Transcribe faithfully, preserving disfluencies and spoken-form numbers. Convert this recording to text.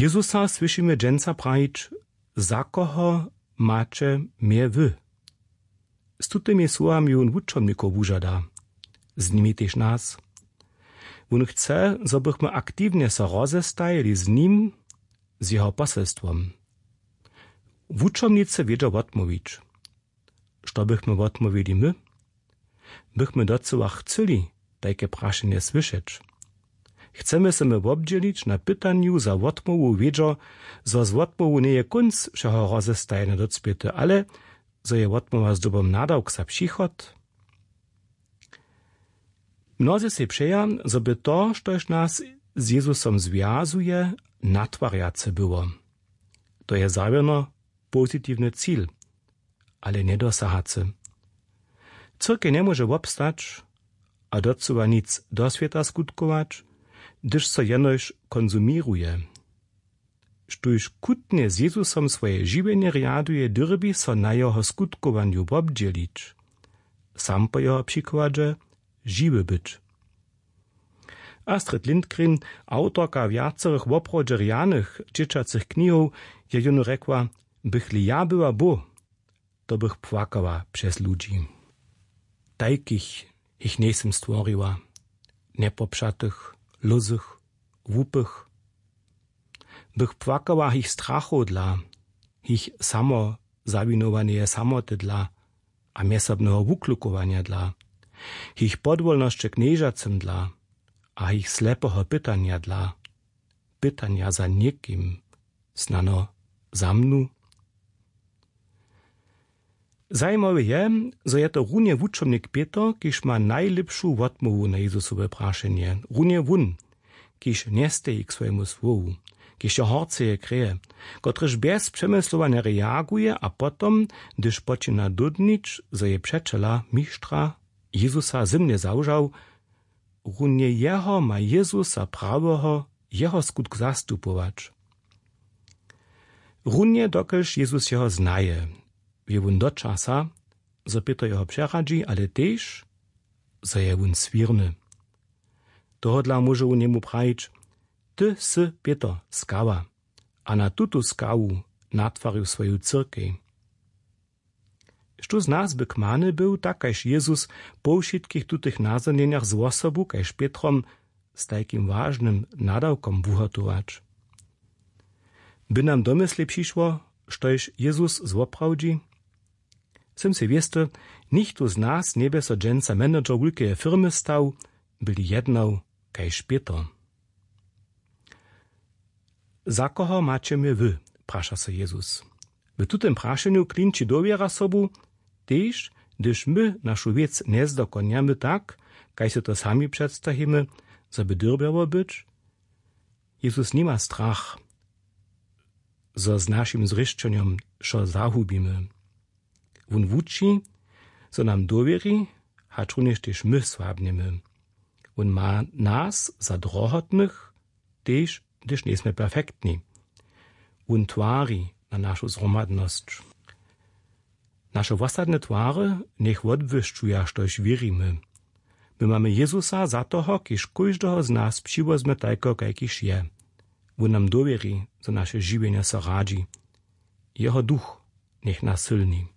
Jezusa słyšimy dźensa prajić: „Za koho maće mje wy?“ Z tutymi słowami wón wučomnikow wužada, z nimi tež nas. Wón chce, zo bychmy aktiwnje so rozestajili z nim, z jeho poselstwom. Wučomnicy wědźa wotmołwić. Što bychmy wotmołwili my? Bychmy docyła chcyli tajke prašenje słyšeć? Chcemy se my wobdźělić na pytanju za wotmołwu wědźo, zo z wotmołwu njeje kónc wšeho rozestajenja docpěty, ale zo je wotmołwa zdobom nadawk za přichod? Mnozy sej přeja, zo by to, štož nas z Jezusom zwjazuje, natwarjace było. To je zawěrno pozitiwny cil, ale njedosahacy. Cyrkej njemóže wobstać a docyła nic do swěta skutkować, hdyž so jenož konsuměruje. Štóž chutnje z Jezusom swoje žiwjenje rjaduje, dyrbi so na jeho skutkowanju wobdźělić, sam po jeho přikładźe žiwy być. Astrid Lindgren, awtorka wjacorych woprawdźe rjanych dźěćacych knihow, je jónu rjekła: „Bych-li ja była Bóh, to bych płakała přez ludźi. Tajkich jich njejsym stworiła, njepopřatych, lózych, hłupych. Bych płakała jich strachow dla, jich samo zawinowaneje samoty dla a mjezsobneho wuklukowanja dla, jich podwólnosće knježacym dla a jich slepeho pytanja dla, pytanja za někim, snano za mnu?“ Zajimawe je, zo je to runje wučomnik Pětr, kiž ma najlěpšu wotmołwu na Jezusowe prašenje. Runje wón, kiž njesteji k swojemu słowu, kiž je horceje kreje, kotryž bjez přemyslowanja reaguje a potom, hdyž počina dódnić, zo je přećela mištra Jezusa zymnje zawžał, runje jeho ma Jezusa praweho jeho skutk zastupować. Runje dokelž Jezus jeho znaje, wě wón do časa, zo Pětr jeho přeradźi, ale tež, zo je wón swěrny. Tohodla móže wón jemu prajić: „Ty sy Pětr, skała, a na tutu skawu natwarił swoju cyrkej.“ Štó z nas by kmany był, tak kaž Jezus, po wšitkich tutych nazhonjenjach z wosobu kaž Pětrom z tajkim wažnym nadawkom wuhotować? By nam do myslej přišło, štož Jezus zwoprawdźi? Sym sej wěsty, nichtó z nas njebě so dźensa manager wulkeje firmy stał, by-li jednał kaž Pětr. „Za koho maće mje wy?“ praša so Jezus. W tutym prašenju klinči dowěra sobu, tež hdyž my našu wěc njezdokonjamy tak, kaž sy to sami předstajimy, zo by dyrbjało być. Jezus nima strach, zo z našim zrěšćenjom wšo zahubimy. Wón wuči, zo nam dowěri, hačrunjež tež my słabnjemy. Wón ma nas za drohotnych, tež hdyž njejsmy perfektni. Wón twari na našu zhromadnosć. Naše wosadne twary njech wotbłyšćuja, štož wěrimy. My mamy Jezusa za toho, kiž kóždeho z nas přiwozmy tajko, kajkiž je. Wón nam dowěri, zo naše žiwjenje so radźi. Jeho duch njech nas sylni.